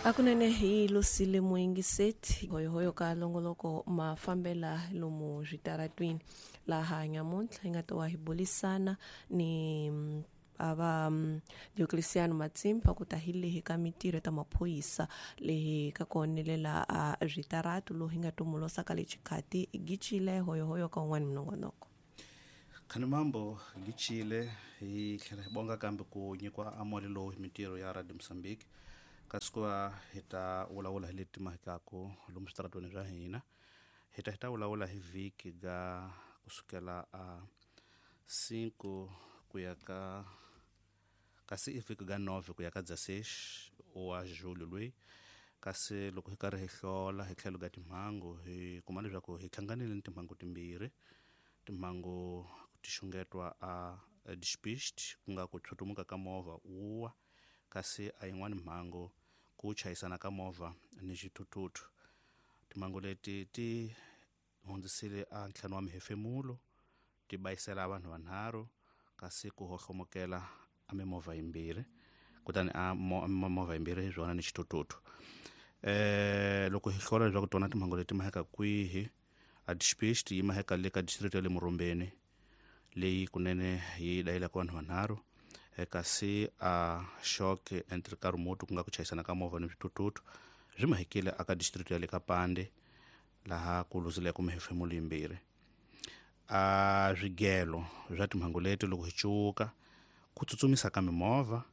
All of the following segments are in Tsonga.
Akunene hi Lusile Muyingiseti hoyohoyo ka longoloko mafambela lomu switaratwini laha nyamuntlha hi nga ta wa hi bulisana ni ava Diocleciano Matsimba ku ta hi lehi ka mitirho ta maphorisa lehi ka ku onelela a switaratu lowu hi nga tumulosa ka le xikhati gicile hoyohoyo ka un'wana minongonoko. Khani mambo gicile hi tlhela hi bonga kambe ku nyikiwa amoli lowu hi mitirho ya Radio Mozambique, kasi ku va hi ta vulavula hi leti mahikaku lomu switaratweni swa hina. Hi ta vulavula hi vhiki ga kusukela a 5 ku ya ka, kasi i vhiki ga 9 ku ya ka 16 wa julho loyi. Kasi loko hi karhi hi hlola hi tlhelo ga timhangu, hi kuma leswaku hi hlanganile ni timhangu timbirhi. Timhangu ti xungetwa a despiste, ku nga ku tshutumuka ka movha wuwa, kasi a yin'wani mhangu ku chayisana ka movha ni xithuthuthu. Timhangu leti ti hundzisile a ntlhanu wa mihefemulo, ti bayisela vanhu vanharhu, kasi ku hohlomokela a mimovha yimbirhi, kutani a movha yimbirhi hi swona ni xithuthuthu. Loko hi hlola leswaku tona timhangu leti maheka kwihi, a despiste yi maheka le ka district ya le Murumbeni, leyi kunene yi dayilaka vanhu vanharhu, kasi a choc entre carro-moto, ku nga ku chayisana ka movha ni swithuthuthu, swi mahekile aka district ya le ka Pande, laha ku luzileke mihefemulo yimbirhi. A swigelo swa timhangu leti, loko hi cuka, ku tsutsumisa ka mimovha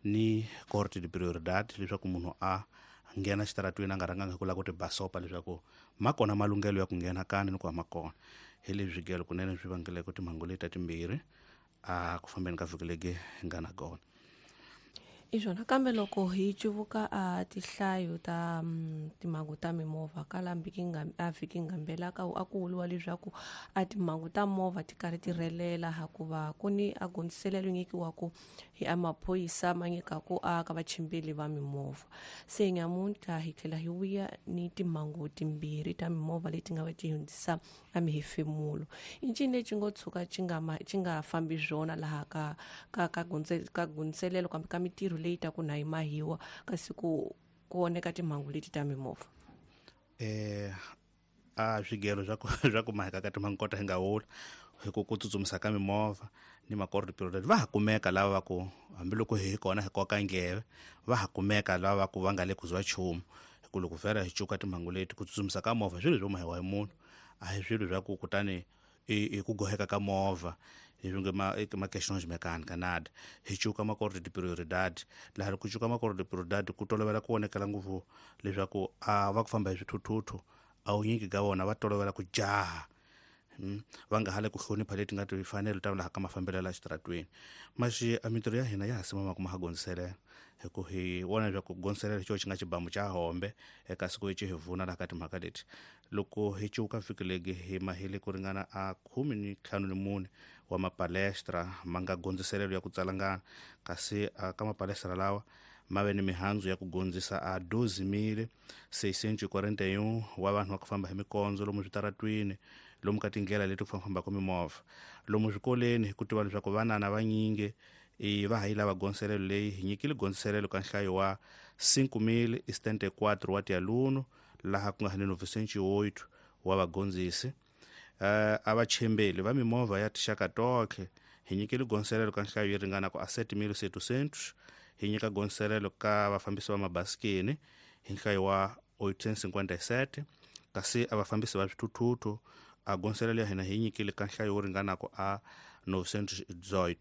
ni corte de prioridade, leswaku munhu a nghena xitaratwini a nga rhanganga hi ku lava ku ti basopa leswaku ma kona malunghelo ya ku nghena kani ni ku ma kona. Hi leswi swigelo kunene swi vangeleke timhangu leti ta timbirhi a ku fambeni ka vhiki legi hi nga na kona. I swona, kambe loko hi cuvuka a tihlayo ta timhangu ta mimovha kala a vhiki ngambela ka a ku vuriwa leswaku a timhangu ta movha ti karhi ti rhelela, hikuva ku ni a gondziselelo nyikiwaku hi a maphorisa ma nyikaku a ka vachimbeli va mimovha. Se nyamuntlha hi tlhela hi vuya ni timhangu timbirhi ta mimovha leti nga va ti hundzisa a mihefemulo. I ncini lexi ngo tshuka xi nga xi nga fambi swona laha ka gondziselelo kambe ka mitirho leyi ta ku na yi mahiwa, kasi ku voneka timhangu leti ta mimovha? A swigelo swa ku maheka ka timhangu kota hi nga wula hi ku tsutsumisa ka mimovha ni makordo period, va ha kumeka lava va ku hambiloko hi kona hi koka ndleve, va ha kumeka lava va ku va nga le ku ziwa nchumu. Hi ku loko vhela hi cuka timhangu leti, ku tsutsumisa ka movha swilo swo mahiwa hi munhu, a hi swilo swa ku kutani i ku goheka ka movha leswi nge ma questões mecânica nada. Hi cuka makordo de prioridade, laha ku cuka makordo de prioridade ku tolovela ku vonekela ngopfu leswaku a va ku famba hi swithuthuthu, a wunyingi ka vona va tolovela ku jaha, va nga ha le ku hlonipha leti nga timfanelo ta laha ka mafambelo ya xitaratweni. Maxi a mintirho ya hina ya ha simama ku ma ha gondziselela, hi ku hi vona leswaku gondziselela hi xo xi nga xibamu xa hombe eka siku xi hi vuna laha ka timhaka leti. Loko hi cuka vhiki legi, hi mahile ku ringana a 14 wa mapalestra ma nga gondziselelo ya ku tsalangana, kasi ka mapalestra lawa ma ve ni mihandzu ya ku gondzisa a 12.641 wa vanhu va ku famba hi mikondzo lomu switaratwini, lomu ka tindlela leti ku fambafambaka mimovha, lomu swikoleni. Hi ku tiva leswaku vanana vanyingi i va ha yi lava gondziselelo leyi, hi nyikile gondziselelo ka nhlayo wa 5074 wa tialuno, laha ku nga ni 908 wa vagondzisi. A vachembeli va mimovha ya tinxaka tonkhe hi nyikile gondziselelo ka nhlayo yi ringana ku a 7700. Hi nyika gondziselelo ka vafambisi va mabasikeni hi nhlayo wa 857, kasi a vafambisi va swithuthuthu a gondziselelo ya hina hi nyikile ka nhlayo wo ringanaka a 918.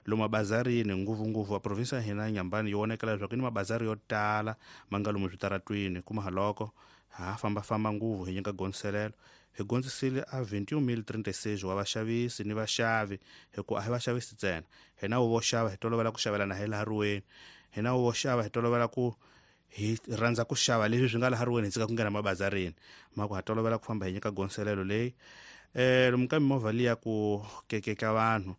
Lomu mabazarini, ngopfungopfu a provinsi ya hina ya Nyambani yi vonekela leswaku ni mabazari yo tala ma nga lomu switaratwini, kuma haloko ha fambafamba ngopfu, hi nyika gondziselelo. Hi gondzisile a 21036 wa vaxavisi ni vaxavi, hikuva a hi vaxavisi ntsena, hina vo xava hi tolovela ku xavelana hi laha riweni, hina vo xava hi tolovela ku hi rhandza ku xava leswi swi nga laha riweni, hi tshika ku nghena mabazarini ma ku ha tolovela ku famba, hi nyika gondziselelo leyi. Lomu ka mimovha liya ku kekeka vanhu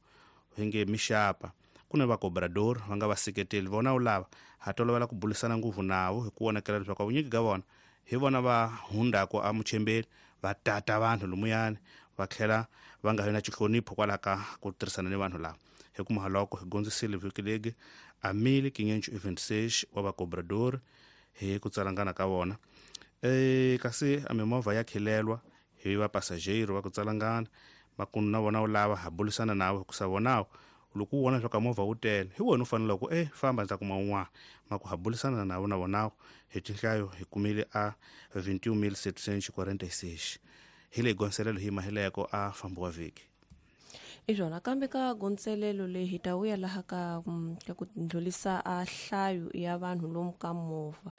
hi nge mixapa, ku na vacobrador va nga vaseketeli vona, wu lava ha tolovela ku bulisana ngopfu navo, hi ku vonakela leswaku vunyingi ka vona hi vona va hundaku a muchembeni, va tata vanhu lomuyani, va tlhela va nga vi na xihlonipho kwalaho ka ku tirhisana ni vanhu lava. Hi kuma loko hi gondzisile vhiki legi a 1526 wa vacobrador. Hi ku tsalangana ka vona. Kasi a mimovha ya khilelwa hi va passageiro va ku tsalangana makunu na vona u lava ha bulisana nawe hikusa vonawo loko u vona swa ka movha wu tele hi wena u fanele ku famba ndzi ta kuma un'wana. Maku ha bulisana nawo na vonawo hi tinhlayo hi kumile a 21746 hi leyi gonselelo hi mahileko a fambiwa vhiki. I swona kambe ka gonselelo leyi hi ta vuya laha ka ka ku ndlhulisa a nhlayo ya vanhu lomu ka movha.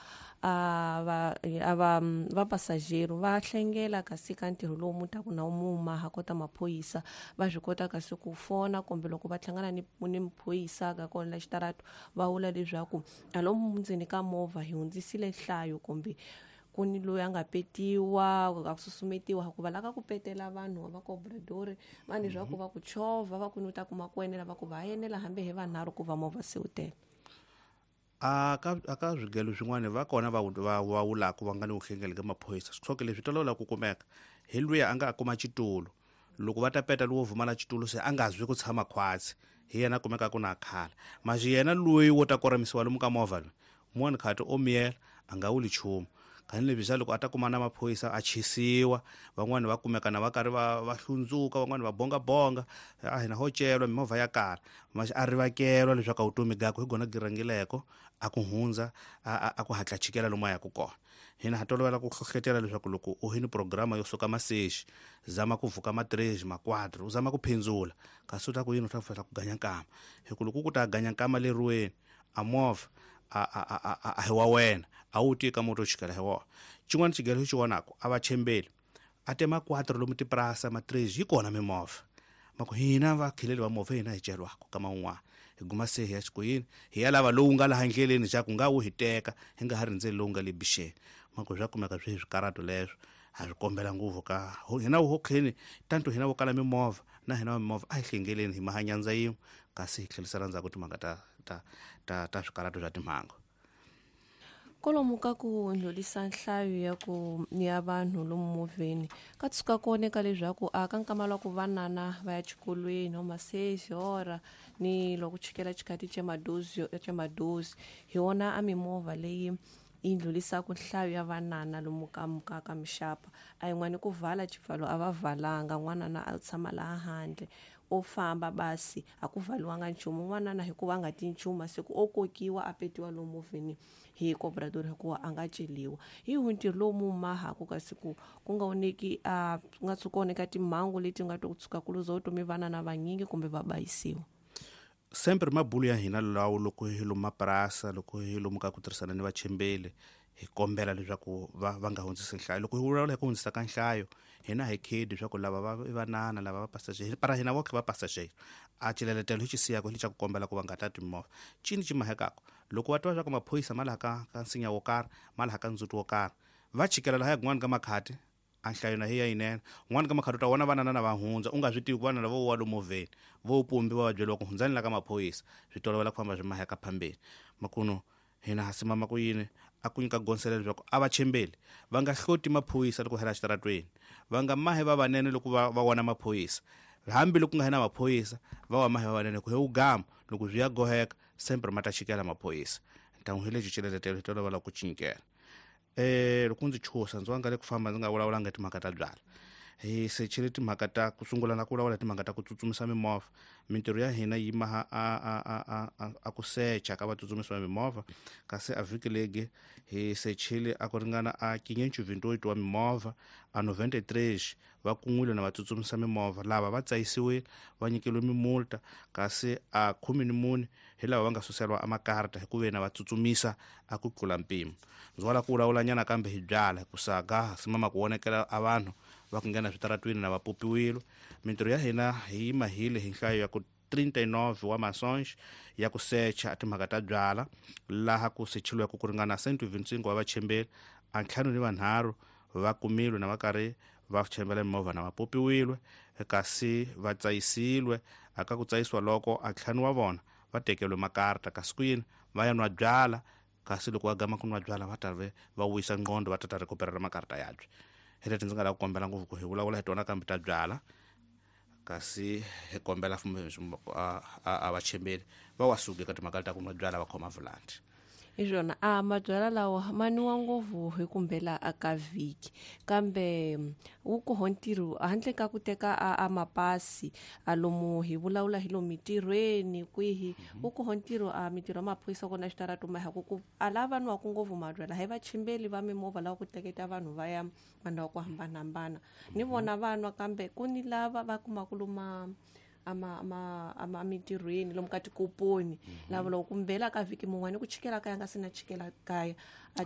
A va va passageiro va hlengela kasi ka ntirho lowu mu taku na muma ha kota maphorisa va swi kota kasi ku fona kumbe loko va hlangana ni maphorisa ka kona la xitarato va vula leswaku a lomu ndzeni ka movha hi hundzisile nhlayo kumbe ku ni loyi a nga petiwa a susumetiwa hikuva la ka ku petela vanhu va cobrador vanhu leswaku va ku chovha va ku ni u ta kuma ku enela va ku va enela hambi hi vanharhu ku va movha se wu tele. A ka swigelo swin'wana va kona va vulaka va nga ni vuhlengeli ka maphorisa swi leswi tolovela ku kumeka hi luya a nga kuma xitulu loko va ta peta lowo vumala xitulu se a nga zwi ku tshama khwatsi hi yena kumeka ku na khala maxi yena loyi wo ta koramisiwa lomu ka movha loyi mun'wana khati o miyela a nga wuli nchumu. Kani leswi swa loko a ta kuma na maphorisa a chisiwa van'wani va kumeka na va karhi va hlundzuka van'wani va bongabonga a hina ho celwa mimovha ya kala maxi a rivakelwa leswaku a vutomi gakwe hi gona girangileko a ku hundza a ku hatla chikela lomu a yaku kona. Hina ha tolovela ku hlohlotela leswaku loko u hini programa yo suka maseji zama ku vuka ma 3 ma 4 u zama ku phindzula kasi u ta ku yini u ta fela ku ganya nkama hi ku loko ku ta ganya nkama leriweni a movha a hi wa wena a wu tika moto chikela hi wona. Xin'wana xigelo xi vonaka a va chembeli a tema 4 lomu tiprasa ma 3 yi kona mimovha maku hina va khileli va movha hina hi celwako kama un'wana hi guma se hi ya xikoyini hi ya lava lowu nga laha ndleleni xa ku nga wu hi teka hi nga ha rindzeli lowu nga le bixeni maku swa kumeka swi swikarato leswo ha swi kombela ngopfu ka hina wo kheni tanto hina vo kala mimovha na hina va mimovha a hi hlengeleni hi mahanyandza yin'we kasi hi tlherisela ndzhaku timhaka ta swikarato swa timhangu. Kolomu ka ku ndlhulisa nhlayo ya ku ya vanhu lomu movheni ka tshuka ku oneka leswaku a ka nkama lwa ku vanana va ya xikolweni o masezi ora ni loko chikela xikati xa madozi hi wona a mimovha leyi yi ndlhulisaka nhlayo ya vanana lomu ka mixapa a yin'wani ku vala xipfalo a va valanga n'wanana a tshama laha handle o famba basi a ku valiwanga nchumu n'wanana hikuva a nga ti nchumu se ku o kokiwa a petiwa lomu movheni hi cobrador hikuva a nga celiwa. Hi ntirho lowu mu mahaku kasi ku nga oneki a nga tshuka oneka timhangu leti nga to tshuka ku luza vutomi vanana vanyingi kumbe va bayisiwa. Sempre mabulu ya hina lawo loko hi lomu mapurasa loko hi lomu ka ku tirhisana ni vachembeli hi kombela leswaku va nga hundzisi nhlayo. Loko hi vulavula hi ku hundzisa ka nhlayo hina hi khedi leswaku lava va vanana lava va passager para hina voke va passager a xileletelo hi xi siyaka hi xa ku kombela ku va nga tati mimovha cini xi mahekaka loko va twa leswaku maphorisa ma laha ka nsinya wo karhi ma laha ka ndzhuti wo karhi va chikela laha kun'wana ka makhati a nhlayo na hi ya yinene un'wana ka makhati u ta vona vanana na va hundza u nga swi tivi ku vanana vo wa lomu movheni vo pumbiwa va byeriwa ku hundzani la ka maphorisa swi tolovela ku famba swi maheka phambeni makuno hina ha simama ku yini a ku nyika gonselelo leswaku a va chembeli va nga hloti maphorisa loko hela xitaratweni va nga mahe va vanene loko va vona maphorisa hambi loko nga hina maphorisa va wa mahe va vanene ku he wu gama loko swi ya goheka sempre ma ta chikela maphorisa ntangu hi lexi xileletelo hi tolovela ku cinkela. Loko ndzi chusa ndzi wanga le ku famba ndzi nga vulavulanga timhaka ta byala hi sechile timhaka ta ku sungula na ku vulavula timhaka ta ku tsutsumisa mimovha mintirho ya hina yi maha a ku secha ka vatsutsumisi va mimovha kasi a vhiki legi hi sechile a ku ringana a 528 wa mimovha a 93 va kun'wile na vatsutsumisa mimovha lava va tsayisiwile va nyikeliwe mimulta kasi a 14 hi lava va nga suseriwa amakarta hi ku ve na va tsutsumisa a ku tlula mpimo. Ndzi wala ku vulavulanyana kambe hi byala hi ku saga simama ku vonekela a vanhu va ku nghena switaratwini na va popiwile. Mintirho ya hina hi yi mahile hi nhlayo ya ku 39 wa masonge ya ku secha timhaka ta byala laha ku sechiliweke ku ringana 125 wa vachembeli a 53 va kumilwe na va karhi va chembela mimovha na va popiwile kasi va tsayisiwe aka ku tsayisiwa loko a 5 wa vona va tekeriwe makarta kasi ku yini va ya nwa byala kasi loko va gama ku nwa byala va ta va wisa nqondo va ta rekuperela makarta yabye. Hi leti ndzi nga lava ku kombela ngopfu ku hi vulavula hi tona kambe ta byala kasi hi kombela a vachembeli va wa suki eka timhaka ta ku nwa byala va khoma volante. Hi swona a mabyalwa lawa ma nwiwa ngopfu hi kumbela a ka vhiki, kambe wu koho ntirho handle ka ku teka a mapasi a lomu hi vulavula hi lomu mitirhweni kwihi, wu koho ntirho a mitirho ya maphorisa kona xitarato ma ku ku a lava nwaku ngopfu mabyalwa hi vachimbeli va mimovha lava ku teketa vanhu va ya mandhawu ku hambanahambana, ni vona va nwa, kambe ku ni lava va kumaka loma ama mitirhweni lomu ka tikoponi, lava loko kumbela ka vhiki mun'wani ku chikela kaya nga se na chikela kaya a.